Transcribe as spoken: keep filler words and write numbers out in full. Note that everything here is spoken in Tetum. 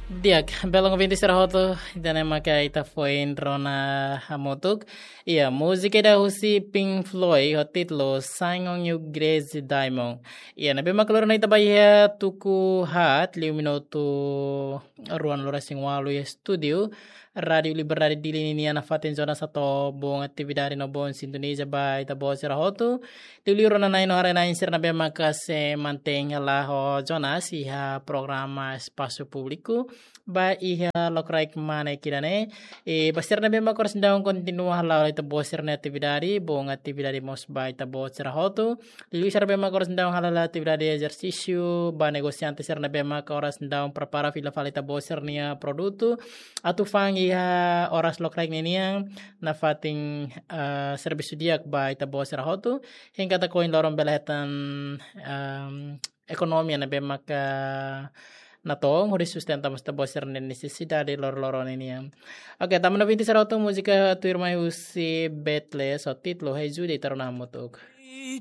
Di'ak, belun ouvinte sira hotu, ida-ne'e maka ita foin rona hamutuk. Iha, múzika ida husi Pink Floyd, ho títulu Shine On You Crazy Diamond. Iha, ne'ebé maka lori ona ita ba iha tuku haat, liu minutu ruanulu-resin-ualu iha estúdiu Rádiu Liberdade Dili nian, nafatin zona satu, boa atividade no boa sintoniza ba ita-boot sira hotu. Liuliu rona-na'in no haree-na'in sira ne'ebé maka sei mantein hela ho Jonas iha programa Espasu Públiku ba iha lokraik mane ida-ne'e. I ba sira ne'ebé maka oras ne'e daudaun kontinua hala'o ita-boot sira-nia atividade, boa atividade mós ba ita-boot sira hotu. Liuliu sira ne'ebé maka oras ne'e daudaun hala'o atividade ezersísiu, ba negosiante sira ne'ebé maka oras ne'e daudaun prepara fila fali ita-boot sira-nia produtu, atu fa'an iha oras lokraik ne'e nian, nafatin, eh, servisu di'ak ba ita-boot sira hotu, hein katak ohin loron bele hetan, em, ekonomia ne'ebé maka natoon hodi sustenta mós ita-boot sira-nia nesesidade loroloron ne'e nian. Oke, tanba ouvinte sira hotu, múzika tuirmai husi Beatles ho títulu Hey Jude, ita rona hamutuk.